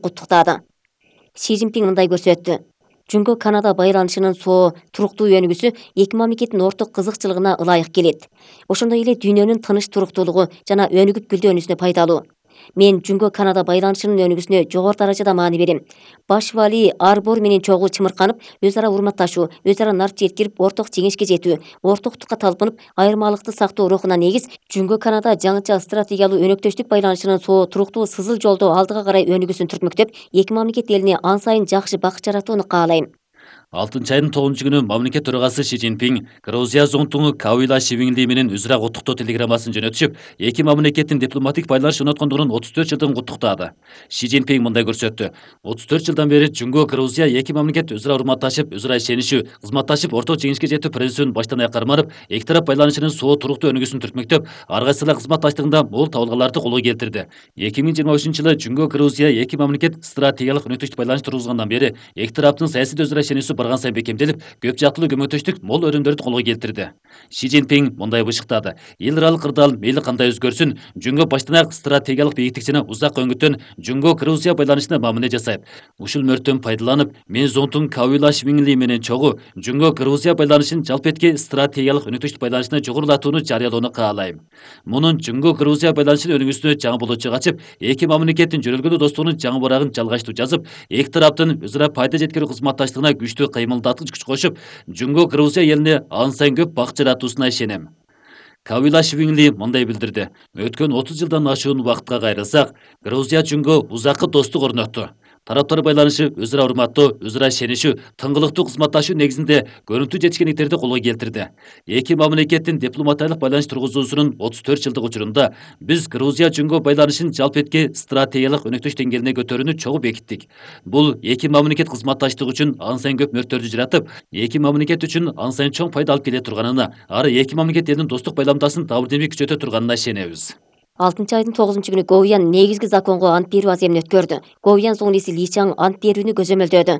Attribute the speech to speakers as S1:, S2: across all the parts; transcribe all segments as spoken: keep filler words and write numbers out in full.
S1: куттуктады. Си Цзиньпин мындай көрсөттү. Жөнгө Канада байланышынын соо туруктуу өнүгүүсү эки мамлекеттин орток кызыкчылыгына ылайык келет. Ошондой эле дүйнөнүн тыныч туруктуулугу жана өнүгүп гүлдөнүүсүнө пайдалуу. Мен Жөнгө Канада байланышынын өнүгүүсүнө жогору даражада маани берем. Баш вали Арбор менен чогуу чымырканып, өз ара урматташуу, өз ара нар жеткирип, орток жеңишке жетүү, ортоктукка талпынып, айырмалыкты сактоо рухуна негиз Жөнгө Канада жаңыча стратегиялуу өнөктөштүк байланышынын соо туруктуу сызыл жолдо алдыга карай өнүгүүсүн түртмөктөп, эки мамлекет элине ан сайын жакшы бакыт жаратууну каалайм.
S2: алтынчы айдын тогузунчу күнү мамлекет төрагасы Си Цзиньпин Грузия зонтугу Кавила Шивингли менен өзара куттуктоо телеграммасын жөнөтүшүп, эки мамлекеттин дипломатик байланыш орноткондугунун отуз төрт жылдыгын куттуктады. Си Цзиньпин мындай көрсөттү. отуз төрт жылдан бери Жөнгө Грузия эки мамлекет өзара урматташып, өзара ишенишүү, кызматташып, орток жеңишке жетүү процессин баштан аякка карманып, эки тарап байланышынын соо туруктуу өнүгүүсүн түртмөктөп, ар кайсылар кызматташтыгында мол табылгаларды колго келтирди. эки миң жыйырма үчүнчү жылы Жөнгө Грузия эки мамлекет стратегиялык өнөктөштүк байланыш тургузгандан бери эки тараптын саясий өзара ишенүүсү барган сайын бекемделип, көп жактылуу көмөктөштүк мол өрүмдөрдү колго келтирди. Си Цзиньпин мындай бышыктады. Эл аралык ырдаал мейли кандай өзгөрсүн, Жөнгө баштан аяк стратегиялык бийиктик жана узак өңүттөн Жөнгө Грузия байланышына мамиле жасайт. Ушул мөрттөн пайдаланып, мен зонтун Кавила Шивингли менен чогуу Жөнгө Грузия байланышын жалпы этки стратегиялык өнөктөштүк байланышына жогорулатууну жарыялоону каалайм. Мунун Жөнгө Грузия байланышынын өнүгүүсүнө жаңы болочу ачып, эки мамлекеттин жөнөлгөлүү достугунун жаңы барагын жалгачтуу жазып, эки тараптын өзара пайда жеткирүү кызматташтыгына күчтүү кыймылдаткыч күч кошуп, Жөнгө Грузия элине ан сайын көп бакыт жаратуусуна ишенем. Кавила Шивингли мындай билдирди. Өткөн отуз жылдан ашуун убакытка кайрылсак, Грузия Жөнгө узаккы достук орнотту. Тараптар байланышы өзара урматтоо, өзара ишенишүү, тыңгылыктуу кызматташуу негизинде көрүнтүү жетишкендиктерди колго келтирди. Эки мамлекеттин дипломатиялык байланыш тургузуусунун отуз төрт жылдык учурунда биз Грузия Жөнгө байланышын жалпы этки стратегиялык өнөктөш деңгээлине көтөрүүнү чогуу бекиттик. Бул эки мамлекет кызматташтыгы үчүн ан сайын көп мөрттөрдү жаратып, эки мамлекет үчүн ан сайын чоң пайда алып келе турганына, ары эки мамлекет элинин достук байламдасын дабыл-демик күчөтө турганына ишенебиз.
S1: алтынчы айдын тогузунчу күнү Говьян негизги законго ант берүү аземин өткөрдү. Говьян зуңлиси Ли Чаң ант берүүнү көзөмөлдөөдү.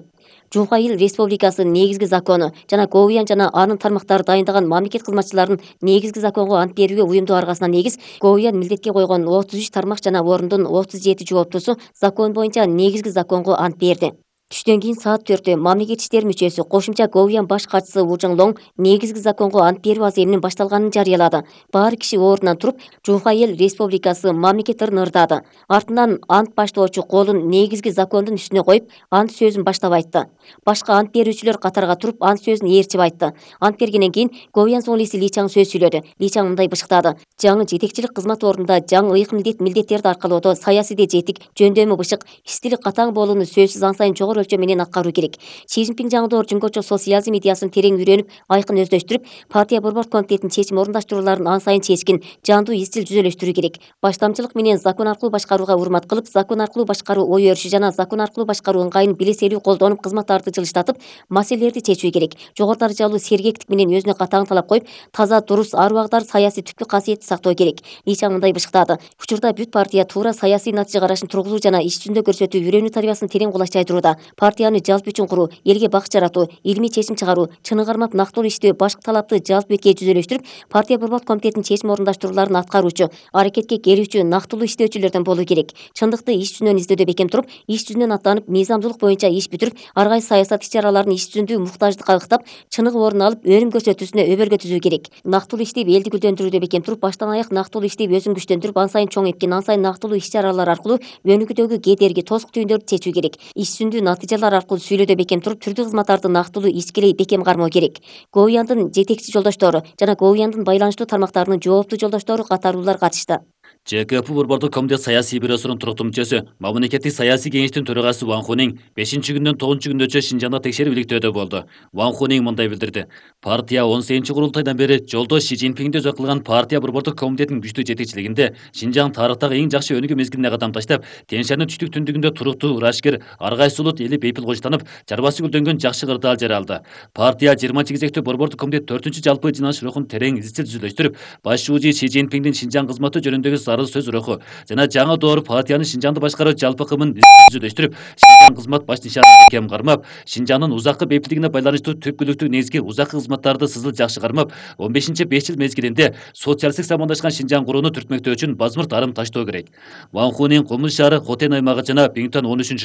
S1: Жуха Ил Республикасынын негизги закону жана Говьян жана анын тармактары дайындаган мамлекет кызматчыларынын негизги законго ант берүүгө уюмдуу аргасына негиз Говьян милдетке койгон отуз үч тармак жана ордун отуз жети жооптусу закон боюнча негизги законго ант берди. Түштөн кийин саат төрттө мамлекет иштери мүчөсү кошумча Говьян баш катчысы Ву Чжэнлоң негизги законго ант берүү аземинин башталганын жарыялады. Баары киши ордунан туруп, Жуха Ил Республикасы мамлекеттерин ырдады. Артынан ант баштоочу колун негизги закондун үстүнө коюп, ант сөзүн баштап айтты. Башка ант берүүчүлөр катарга туруп, ант сөзүн ээрчип айтты. Ант бергенден кийин Говьян зуңлиси Ли Чаң сөз сүйлөдү. Ли Чаң мындай бышыктады. Жаңы жетекчилик кызмат ордунда жаңы ыйык милдет милдеттерди аркалоодо саясийде жетик, жөндөмү бышык, стили катаң болууну сөзсүз ан сайын жогору өлчөм менен аткаруу керек. Си Цзиньпин жаңдоор жөнгөчө социализм идеясын терең үйрөнүп, айкын өздөштүрүп, партия борбордук комитетинин чечим орундаштырууларын ан сайын чечкин, жандуу изчил жүзөлөштүрүү керек. Баштамчылык менен закон аркылуу башкарууга урмат кылып, закон аркылуу башкаруу ой өрүшү жана закон аркылуу башкаруу ыңгайын билиселүү колдонуп, кызматтарды жылыштатып, маселелерди чечүү керек. Жогору даражалуу сергектик менен өзүнө катаң талап коюп, таза, дурус, ар убагыдар саясий түпкү касиетти сактоо керек. Ли Чаң мындай бышыктады. Учурда бүт партия туура саясий натыйжа карашын тургузуу жана иш жүзүндө көрсөтүү үйрөнүү тарбиясын терең кулачтайдырууда. Партияны жалпы үчүн куруу, элге бакыт жаратуу, илимий чечим чыгаруу, чыныгы кармап нактылуу иштөө, башкы талапты жалпы бетке жүзөлөштүрүп, партия борбордук комитетинин чечим орундаштырууларын аткаруучу, аракетке келүүчү, нактылуу иштөөчүлөрдөн болуу керек. Чындыкты иш жүзүнөн издөөдө бекем туруп, иш жүзүнөн аттанып, мыйзамдуулук боюнча иш бүтүрүп, ар кайсы саясат иш-чараларын иш жүзүндүү муктаждыкка ыктап, чыныгы орун алып, өнүм көрсөтүүсүнө өбөлгө түзүү керек. Нактылуу иштеп, элди гүлдөндүрүүдө бекем туруп, баштан аяк нактылуу иштеп, өзүн күчтөндүрүп, ан сайын чоң эткин, ан сайын нактылуу иш-чаралар аркылуу өнүгүүдөгү кедерги, тосук түйүндөрдү чечүү керек. Иш жүзүндүү натыйжалар аркылуу сүйлөөдө бекем туруп, түрдүү кызматтарды нактылуу ичкилей бекем кармоо керек. Говьяндын жетекчи жолдоштору жана Говьяндын байланыштуу тармактарынын жооптуу жолдоштору катарлуулар катышты.
S2: Ж К П борбордук комитет саясий бюросунун туруктуу мүчөсү, мамлекеттик саясий кеңештин төрагасы Ван Хунин бешинчи күндөн тогузунчу күндөчө Шинжаңда текшерип иликтөөдө болду. Ван Хунин мындай билдирди. Партия он сегизинчи курултайдан бери жолдош Си Цзиньпинди өзү кылган партия борбордук комитетинин күчтүү жетекчилигинде Шинжаң тарыхтагы эң жакшы өнүгүү мезгилине кадам таштап, Тянь Шаньдын түштүк түндүгүндө туруктуу, ырашкер, ар кайсы улут эли бейпил кожтанып, чарбасы гүлдөнгөн жакшы кырдаал жара алды. Партия жыйырманчы кезектүү борбордук комитет төртүнчү жалпы жыйналыш рухун терең изчил түзүлөштүрүп, баш шүүжи Си Цзиньпиндин Шинжаң кызматы жөнүндөгү зарыл сөз руху жана жаңы доор партияны Шинжаңды башкаруу жалпы кымын түзүлөштүрүп, Шинжаң кызмат баш нишанын бекем кармап, Шинжаңдын узаккы бейпилдигине байланыштуу түпкүлүктүү негизги узаккы кызматтарды сызыл жакшы кармап, он бешинчи беш жыл мезгилинде социалисттик самандашкан Шинжаң курууну түртмөктөө үчүн базмырт арым таштоо керек. Ван Хунин Кумуш шаары Хотен аймагы жана Биңтан он үчүнчү